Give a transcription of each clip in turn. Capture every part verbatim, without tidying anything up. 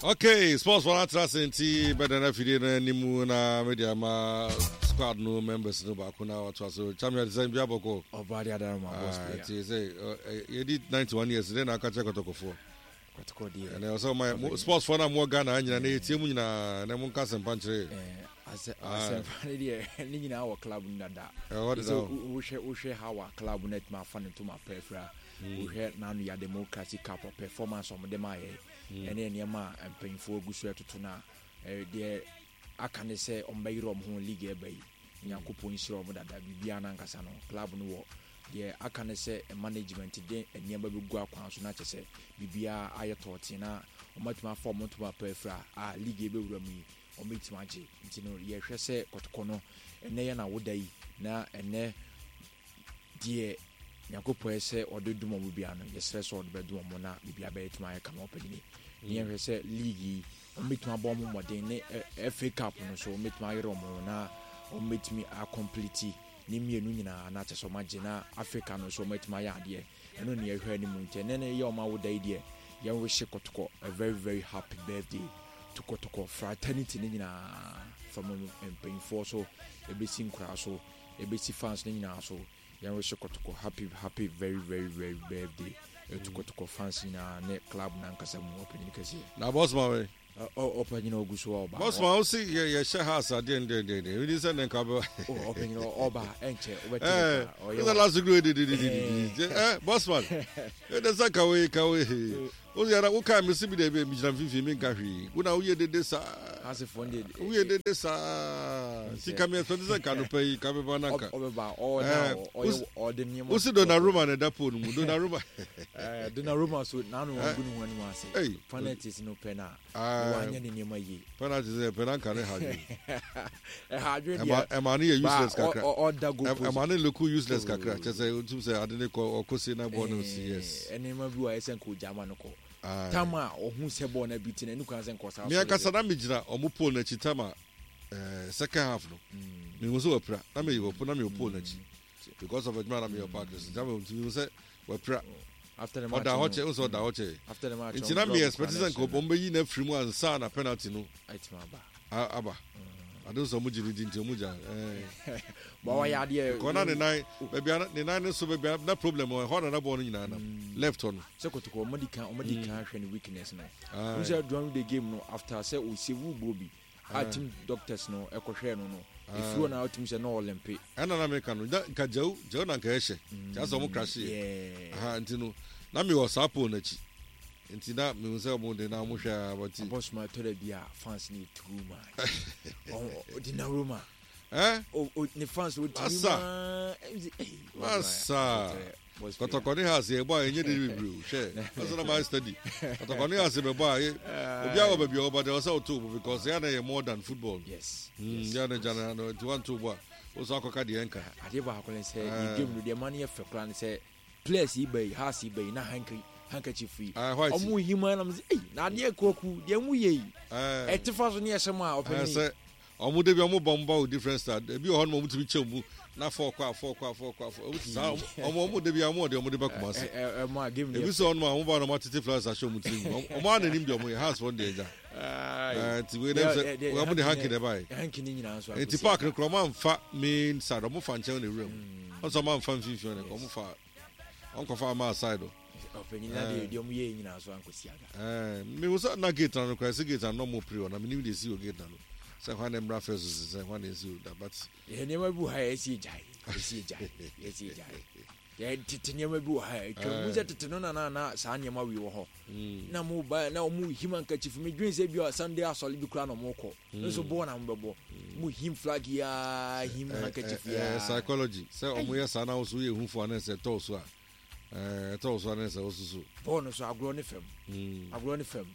Okay, sports wɔn atena ase nti bɛda no afidie no anim na mede ama squad no members no baako na watoa so. Champion sɛ bia bɔkɔ. Ɔba de adara ma boss player. Nti sɛ yɛdi ninety-one years dɛn na aka kyerɛ Kɔtɔkɔfoɔ? Kɔtɔkɔ deɛ. Ɛnɛ ɔsɛ ɔma sports foɔ no a mowɔ Ghana nyina na yɛtie mu nyinaa na monka asɛmpa nkyerɛ yɛ. Asɛmpa no deɛ ne nyinaa wɔ club no dada. Ɛwɔ deda. Wohwɛ wohwɛ how a club no atumi afa ne ntoma pɛ afira. Wohwɛ n'ano yɛ Democracy Cup performance ɔmo de ma yɛ. Ɛne nneɛma a mpanyinfoɔ agu so ɛtoto no a, deɛ aka ne sɛ ɔmo bɛyere ɔmo ho league ɛba yi. Nyankopɔn nhyira ɔmo dada, biribiara n'ankasa no club no wɔ deɛ aka ne sɛ management de nneɛma bɛgu akwan so na kyɛ sɛ biribiara ayɛ tɔɔten na ɔmo atumi afa ɔmo ntoma pɛ afira a league ɛbɛwura mu yi ɔmo bɛtumi agye. Nti no yɛhwɛ sɛ Kɔtɔkɔ no ɛnɛ yɛ na woda yi na ɛnɛ deɛ Nyankopɔn yɛ sɛ ɔde dum ɔmo bia no, yɛsrɛ sɛ ɔde bɛdum ɔmo na biribiara bɛyɛ tumi ayɛ kama. Ɔpɛnyini ne yɛhwɛ sɛ league yi ɔmo bɛtumi abɔ ɔmo mmɔden ne F A Cup no so ɔmo bɛtumi ayere ɔmo ho na ɔmo bɛtumi acomplete ne mmienu nyinaa na kyɛ sɛ ɔmo agye na Africa no so ɔmo atumi ayɛ adeɛ. Ɛno ne yɛhwɛ anim. Nti ɛnɛ no yɛ ɔmo awoda yi deɛ, yɛn wish Kɔtɔkɔ a very very happy birthday to Kɔtɔkɔ fraternity ne nyinaa, from mpanyinfoɔ so ebesi nkoraa so ebesi fans ne nyinaa so. Yɛn wish Kɔtɔkɔ happy happy very very very birthday etu Kɔtɔkɔ fans nyinaa ne club nankasa mu, ɔpanyin kɛseɛ. Na boss ma we. Ɔpanyin ogu so ɔba. Boss ma wo si yɛ yɛhyɛ house adeɛ ndɛ ndɛ ndɛ wodi sɛ ne nka bɛ. Ɔpanyin ɔba ɛnkyɛ wobɛte. Ɛɛ ɔyɛ last week di di di di di ɛ boss man ɛdɛ sɛ kawe kawe o yɛrɛ wo kaa mi si bi de bi mi gyina mfimfini mi nka hwee wo na woyɛ dede saa. Asefoɔ de. Woyɛ dede saa ti ka mi ɛsɛ sɛ nka no pɛ yi ka mi ba na nka. Ɔbɛba ɔna ɔyɛ ɔde nneɛma. Wosi Donnarumma na ɛda pole mu, Donnarumma. Ɛɛ Donnarumma so n'ano wɔn gu ne ho anim ase. Penalties no pɛ na wanyɛ ne nneɛma yie. Penalties yɛ pɛ na nka ne ha dwe. Ɛha adwe deɛ. Ɛma ne yɛ useless kakra. Ɔda go post. Ɛma ne look useless kakra kyɛ sɛ otum sɛ ade ne kɔ ɔkɔ se na bɔɔl no si, yes. Nneɛma bi wɔ ayɛ sɛ nka ogya ama no kɔ. Tam a ɔhu sɛ bɔɔl no bi ti na ɛnu kwan sɛ nkɔ saa. Mi ankasa na mi gyina ɔmo pole n'akyi tam a ɛɛ second half no. Mi hu sɛ wapira na mi wɔ na mi wɔ pole n'akyi because of adwuma na mi yɛ park so nti mi hu sɛ wapira. After the match ɔda hɔ kyɛ nso ɔda hɔ kyɛ after the match nti na mi expect sɛ nka ɔmo bɛyi na firi mu ansa na penalty no ɛtumi aba. Aba ade nso ɔmo gye ne di nti ɔmo gya ɛɛ. Bɔn ɔyɛ adeɛ. Kɔ na ne nan baabi a ne nan ne so baabi a na problem wɔ hɔ na na bɔɔl no nyinaa nam left hɔ no. Sɛ Kotoko ɔmo di kan ɔmo di kan hwɛ ne weakness no n sɛ during the game no after sɛ ɔsɛ wu bɔ bi a team doctors no ɛkɔhwɛ no no efiri hɔ na ɔtumi sɛ na ɔlimpe. Ɛna na meka no nka gyaw gyaw na nka ɛhyɛ kyɛ sɛ ɔmo crash yɛ aha nti no na mi wɔ saa pole n'akyi nti na mi sɛ ɔmo de na ɔmo hwɛ a bɔti. Abɔsoma tɔ da bi a fans ne too much, ɔdi na Roma. Ɛ o ne fans o tumi maa. Masa, Kɔtɔkɔ ne Hearts yɛ bɔ a ɛnyɛ de bebree o. Hwɛ, ɔsɛ na maa study Kɔtɔkɔ ne Hearts bɛ bɔ a obi a wɔ baabi a ɔba de ɔsɛ ɔto bo because yɛ na yɛ more than football. Yes. Mm, yɛ na gya na nti wanto bo a o so akɔka deɛ nka. Adeɛ baako ne sɛ yɛ game no deɛ ma no yɛ fɛ koraa ne sɛ players yi bɛyi Hearts yi bɛyi na hanky handkerchief yi ɔmo him anam sɛ ɛyi na adeɛ kwaku deɛ mo yɛ yi ɛte fa so ne ɛhyɛ mu a ɔpɛ ne. Ɔmo de bi ɔmo bɔ ɔmo ba wɔ different style. Ebi wɔ hɔ nom ɔmo tumi kyɛw mu na four kɔ a four kɔ a four kɔ a four ɔmo saa ɔmo ɔmo de bi ɔmo ɔde ɔmo de ba Kumase. Ebi sɛ ɔnom a ɔmo ba na ɔmo atete flowers ahyɛ ɔmo tirim, ɔmo a n'anim deɛ ɔmo yɛ Hearts fɔ deɛ gya ɛɛ nti wei dɛm sɛ ɔmo de hanky na ɛba yɛ nti park no kora ɔmo anfa main side, ɔmo fa nkyɛn na ewura mu ɔsɛ ɔmo anfa mfimfini ɔno ɔmo fa ɔnkɔfa ama side o. Ɔpanyin na deɛ deɛ ɔmo yɛ nyinaa so ankosi aga. Ɛɛ mihu sɛ na gate na no kora ɛsɛ gate na no ɔmo pere hɔ na minim deɛ esi wɔ gate na no sɛ hwan na mmra fɛ so sɛ hwan na esi wɔ da but. Yɛ nneɛma bi wɔ ha yɛ esi egyae esi egyae esi egyae yɛ tete nneɛma bi wɔ ha atwa mu sɛ tete no na na na saa nneɛma wi wɔ hɔ na mo ba na ɔmo him handkerchief. Mi dwen sɛ bi a Sunday asɔre bi kura na ɔmo kɔ nso bɔɔl na mo bɛbɔ, mo him flag yaa, him handkerchief yaa. Ɛɛ psychology sɛ ɔmo yɛ saa na ɔso yɛ ehufo anɛ sɛ ɛtɔw so a ɛɛ ɛtɔw so anɛ sɛ ɔsoso. Bɔɔl no so agorɔ ne fam, agorɔ ne fam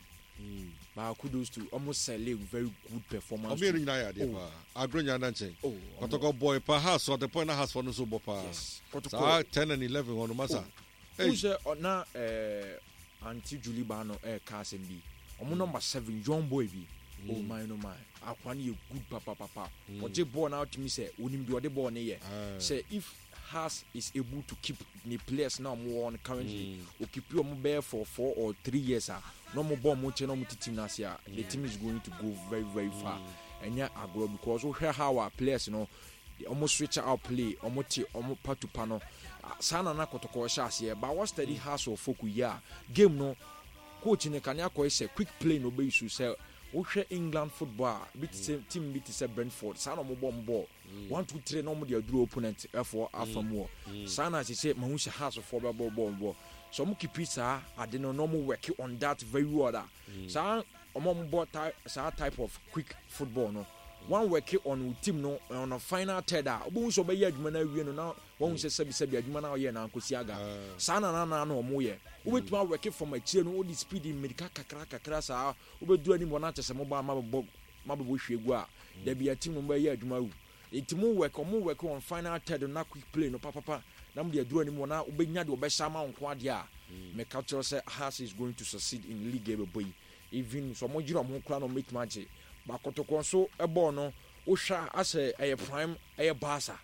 baako. Those two ɔmo sell a very good performance. Ɔmo yɛn nyinaa yɛ adeɛ paa, agorɔ nyinaa da nkyɛn. Kɔtɔkɔ bɔɔl pa Hearts at the point na Hearts fɔ no nso bɔ paa saa ten and eleven hɔ no masa. N sɛ ɔna ɛɛ Aunty Julie ba no ɛɛka asɛm bi, ɔmo number seven young boy bi, oh my no my, akwa no yɛ good papapapa. Ɔgye bɔɔl na ɔtumi sɛ onim deɛ ɔde bɔɔl no yɛ sɛ if Hearts is able to keep the players na ɔmo wɔ no currently, mm. okeep ɔmo bɛyɛ for four or three years a, na ɔmo bɔ ɔmo nkyɛn na ɔmo ti team n'ase a, the team is going to go very very far. Ɛnyɛ agorɔ, because wohwɛ how a players no ɔmo switch out play, ɔmo te ɔmo pa to pa no saa na na Kɔtɔkɔ hyɛ aseɛ ba wɔ steady. Hearts of Oak yi a, game no coach ne kane akɔyɛ sɛ quick play na ɔbɛyi so. Sɛ wohwɛ England football a, bi te sɛ team bi te sɛ Brentford, saa na ɔmo bɔ ɔmo ball one, two, three na ɔmo de aduro opponent ɛfoɔ afa mu wɔ saa. Na sɛ mahu sɛ Hearts foɔ bɛbɔ bɔɔl bɔ so, ɔmo keep saa ade no na ɔmo work on that very well a, saa ɔmo ɔmo bɔ ty saa type of quick football no, one work on wo team no on a final third a, wobɛhu sɛ ɔbɛyɛ adwuma no awie no na wɔn sɛ sɛbi sɛbi adwuma no a ɔyɛ na nkosi aga. Saa na nana na ɔmo yɛ. Wobɛtumi awork from akyire no, wode speed mmirika kakra kakra saa, wobɛduru anim hɔ na kyɛ sɛ moba mabɛbɔ mabɛbɔ hwie gu a, dabi a team no bɛyɛ adwuma wu. Nti mo work, ɔmo work on final third na quick play no papapa na mo de aduru anim hɔ na wobɛnya deɛ ɔbɛhyɛ ama wo nko adeɛ a, mɛka kyerɛ sɛ Hearts is going to succeed in league ɛbɛbɔ yi. Even sɛ ɔmo gyina ɔmo ho koraa na ɔmo bɛtumi agye bakɔtɔkɔ nso ɛbɔɔ no, wohwɛ a asɛ ɛyɛ prime, ɛyɛ Barca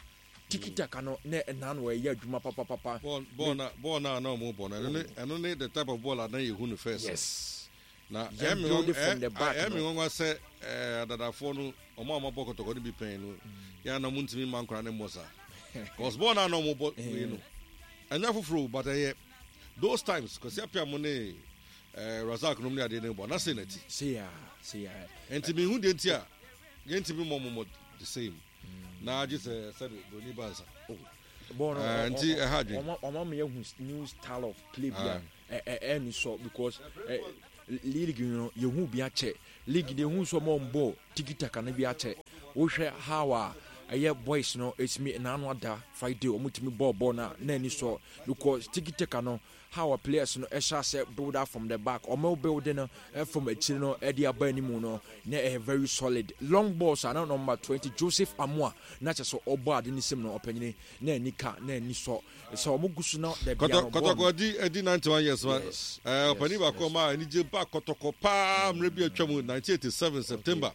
tiki taka no na ɛna no ɛyɛ adwuma papapapa. Bɔɔl na bɔɔl na na ɔmo bɔ no, ɛno ne ɛno ne the type of ball a na yɛhu no first. Yes na ɛmi nwanwa sɛ ɛɛ adadafoɔ no, ɔmo a ɔmo abɔ Kɔtɔkɔ no bi pɛn no yɛn na ɔmo ntumi mma nkora ne mmɔ saa, cause bɔɔl na na ɔmo bɔ wei no ɛnyɛ foforɔ, but ɛyɛ those times Kwasi Apia mo ne ɛɛ Razak nom ne adeɛ ne bɔ na se na ti. Seya seya. Nti mi hu deɛ nti a yɛn ntumi mmɔ mo mo the same na agye sɛ sɛbi broni bansa. Bɔɔl no nti ɛha adwene. Ɔmo ama yɛ new style of play bi a ɛ ɛni sɔ, because ɛ league no yɛhu bi akyɛ, league de ehu sɛ ɔmo bɔ tiki taka no bi akyɛ. Wohwɛ how a ɛyɛ boys no esimi n'ano ada Friday, ɔmo tumi bɔɔ bɔɔl na na ani sɔ, because tiki taka no, how a players no ɛhyɛ asɛ build up from the back, ɔmo build no from akyire no ɛde aba anim no, na ɛyɛ very solid. Long balls a na number twenty Joseph Amoa na kyɛ sɛ ɔbɔ ade ne nsam no, ɔpanyini na ani ka na ani sɔ sɛ ɔmo gu so na dabi ano bɔɔl. Kɔtɔkɔ di edi ninety one years ma ɛɛ ɔpanin baako ɔma anigye ba Kɔtɔkɔ paa mmerɛ bi atwa mu, nineteen eighty seven September,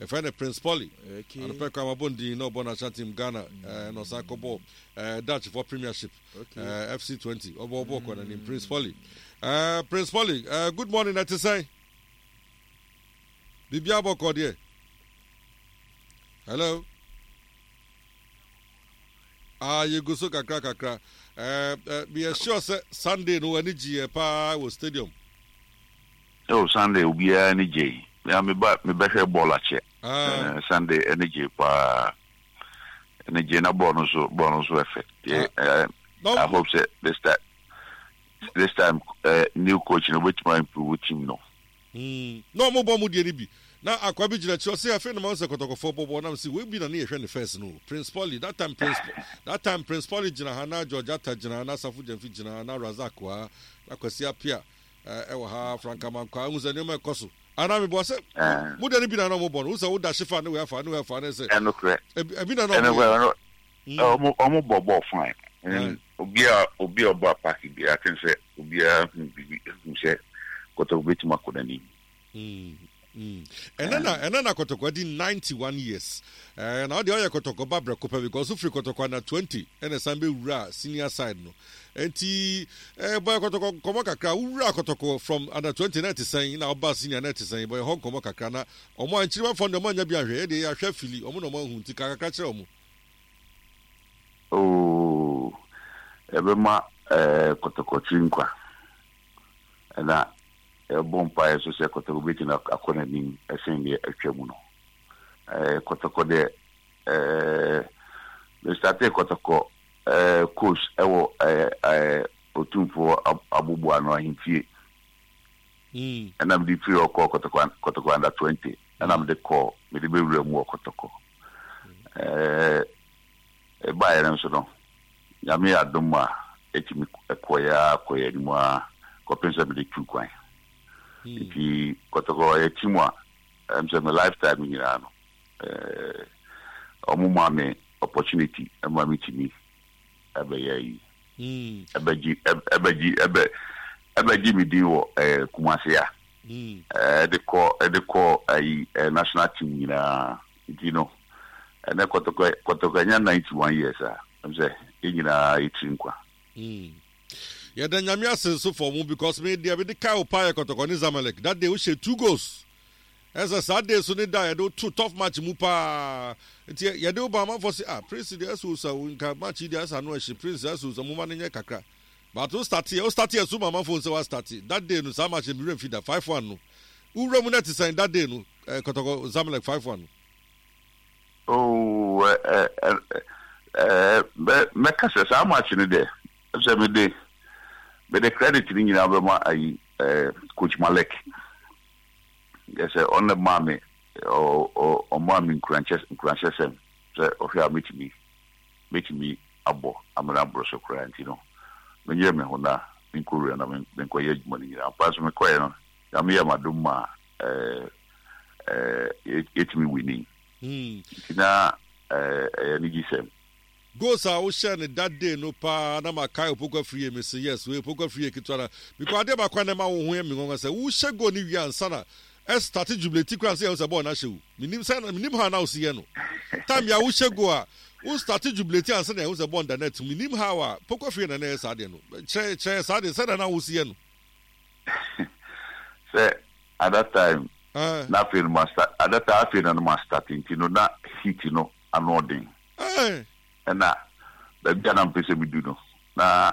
ɛfɛ ne Prince Polly anɔpɛ kwan mabɔ ndin na ɔbɔ national team Ghana, ɛɛ na ɔsan kɔbɔ ɛɛ Dutch for Premiership, ɛɛ F C twenty, ɔbɔ ɔbɔ kɔ n'anim. Prince Polly, ɛɛ Prince Polly, ɛɛ good morning. Ɛte sɛn? Biribi abɔ kɔ deɛ? Hello. Ah, yɛgu so kakra kakra. ɛɛ ɛɛ meyɛ sure sɛ Sunday no w'ani gye yɛ paa wɔ stadium. Oh, Sunday obiara ani gye. Ya meba mebɛhwɛ bɔɔl akyɛ. Ah. Sunday ani gye paa, ani gye na bɔɔl no so bɔɔl no so ɛfɛ. Yeah, I hope say this time this time uh, new coach no obetuma improve team no. Mm. Na ɔmo bɔ mo deɛ no bi na akwa bi gyina kyerɛ ɔsɛ afei na ma sɛ Kɔtɔkɔfoɔ bɔbɔ nam sɛ wei bi na ne yɛhwɛ ne first no, Prince Polly that time Prince that time Prince Polly gyina ha, na George Atta gyina ha, na Asafo Gyamfi gyina ha, na Razak wɔ ha, na Kwasi Apia ɛwɔ ha, Frank Amankwa. Ehu sɛ nneɛma ɛkɔ so ana meboa sɛ mo deɛ no bi na na ɔmo bɔ no, wosɛ woda hyefa ne wei afa ne wei afa ne sɛ ɛnokorɛ. Ebi na na ɔmo yɛ ɔmo ɔmo bɔ bɔɔl fine. Obi a obi a ɔbɔ apaaki bi, I think sɛ obiara hu bibi hu sɛ Kɔtɔkɔ betumi akɔ n'anim. ɛnɛ na ɛnɛ na Kɔtɔkɔ di ninety one years ɛɛ na ɔde ɔyɛ Kɔtɔkɔ ba brɛko pɛ, because ofiri Kɔtɔkɔ na twenty ɛna san bɛ wura senior side no. Nti ɛɛ bɔyɛ Kɔtɔkɔ nkɔmɔ kakra. Wura Kɔtɔkɔ from under twenty na ɛte sɛn, na ɔba senior na ɛte sɛn? Bɔyɛ hɔ nkɔmɔ kakra na ɔmo a nkyiriwa fɔ no, ɔmo anya bi ahwɛ, ɛdeɛ yɛahwɛ fili ɔmo na ɔmo ahu, nti kakra kyerɛ ɔmo. Ooo, ɛbɛma ɛɛ Kɔtɔkɔ tiri nkwa, ɛna ɛbɔ mpaeɛ so sɛ Kɔtɔkɔ bɛtumi akɔ n'anim ɛsɛn deɛ atwa mu no. ɛɛ kɔtɔkɔ deɛ, ɛɛ mestartee Kɔtɔkɔ ɛɛ coach ɛwɔ ɛɛ ɛɛ Otumfoɔ abobo ano ahemfie, ɛna mede firi hɔ kɔɔ Kɔtɔkɔ Kɔtɔkɔ under twenty, ɛna mede kɔɔ mede bɛwura mu wɔ Kɔtɔkɔ. ɛɛ ɛbaeɛ no nso no, Nyame yɛ adom a, ɛtumi ɛkɔeɛ a kɔeɛ anim a kɔpem sɛ mede tu kwan. Nti Kɔtɔkɔ ɛyɛ team a ɛm sɛ me lifetime nyinaa no, ɛɛ ɔmo maa me opportunity ɛma me tumi ɛbɛyɛ yi, ɛbɛgye ɛbɛgye ɛbɛ ɛbɛgye me din wɔ ɛɛ Kumase a ɛde kɔ ɛde kɔ ɛyi ɛɛ national team nyinaa. Nti no, ɛnɛ Kɔtɔkɔ Kɔtɔkɔ ɛnya ninety one years a, ɛm sɛ Yɛn nyinaa yɛtiri nkwa. Mm. Yɛda Nyame ase nso for mu because me deɛ mede kae wo paa yɛ Kɔtɔkɔ ne Zamalek. That day wohyɛ two goals. Ɛsɛ saa day so ne da yɛde wo to tough match mu paa. Nti yɛde wo ba, amanfoɔ se, "Ah, Prince deɛ, ɛsɛ osa nka match yi deɛ, ɛsɛ ano ɛhye. Prince ɛsɛ osa, mo ma no nyɛ kakra." But wo start yɛ, wo start yɛ so ma amanfoɔ sɛ wa start. That day no, saa match no mi werɛ mfi da, five one no. Wowura mu na ɛte sɛn that day no, eh, Kɔtɔkɔ Zamalek five one no? Oh, ɛ ɛ ɛ mɛ mɛka sɛ saa match no deɛ, sɛ mede mede credit no nyinaa bɛma ayi, ɛɛ coach Malek. Yɛ sɛ ɔno maa me ɔ ɔ ɔmaa me nkuranhyɛ nkuranhyɛsɛm sɛ ɔhwɛ a mɛtumi mɛtumi abɔ amena aboro so koraa, nti no menyɛ me ho na menkɔwura na menkɔyɛ adwuma no nyinaa mpa so. Mekɔɛ no, Nyame yɛ m'adom ma ɛɛ ɛɛ yɛtumi winning. Mm. Nti na ɛɛ ɛyɛ anigyesɛm. Goals a wohyɛ no that day no paa na makae Opoku Afriyie. Me se yes, wei Opoku Afriyie ketewa na because adeɛ baako a na ɛma wo ho yɛ me nwanwa sɛ wohyɛ goal no wie ansa na ɛstart jubilate koraa sɛ yɛhu sɛ bɔɔl no ahyɛ wo. Menim sɛ menim how na wosi yɛ no. Time bia wohyɛ goal a, wo start jubilate ansa na yɛhu sɛ bɔɔl no da net mu. Menim how a Opoku Afriyie na na ɛyɛ saa adeɛ no. Kyerɛ kyerɛ saa adeɛ sɛdeɛ na wosi yɛ no. Sɛ at that time Ah. na afei no ma start, at that time afei na no ma start, nti no na heat no ano ɔden. Eh. Ɛna baabi a na mpɛ sɛ medu no na